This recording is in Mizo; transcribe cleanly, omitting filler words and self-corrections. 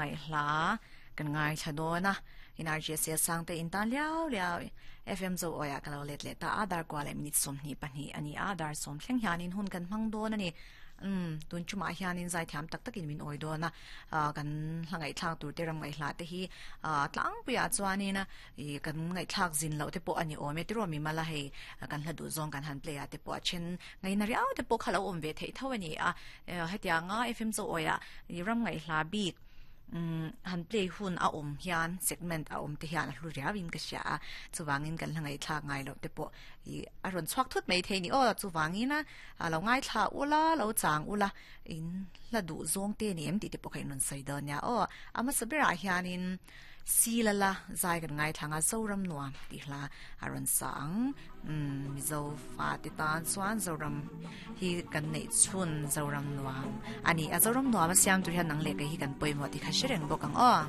Ram ngaih hla kan ngaithla dawn a, in RGSA Sangte in tan liau liau FM Zo Awi ah ka lo let leh ta a, dar kua leh minute 22 a ni a, dar sawm thleng hianin hun kan hmang dawn a ni. Umm, tun chumah hianin zaithiam tak takin min awi dawn a, kan hla ngaihthlak tur te ram ngaihhla te hi tlangpuiah chuanin ih kan ngaihthlak zin loh te pawh a ni awm e tiraw mimala hei kan hla duh zawng kan han play ah te pawh a then ngaihna riau te pawh kha lo awm ve theih tho a ni a, hetianga FM Zo Awi ah ram ngaihhla bik umm han play hun a awm hian segment a awm te hian a hlu riau in ka hria a, chuvangin kan hla ngaihthlak ngai loh te pawh ih a rawn chhuak thut mai thei a ni aw, chuvangin a lo ngaithla ula lo chang ula in hla duh zawng te ni em tih te pawh kha in rawn sawi dawn nia aw, a hmasa berah hianin Silala zai kan ngaithlang a Zoram nuam tih hla a rawn sa ang umm Mizo fate tan chuan Zoram hi kan neih chhun Zoram nuam a ni a Zoram nuam a siam tur hian nang leh kei hi kan pawimawh tih kha hre reng bawk ang aw.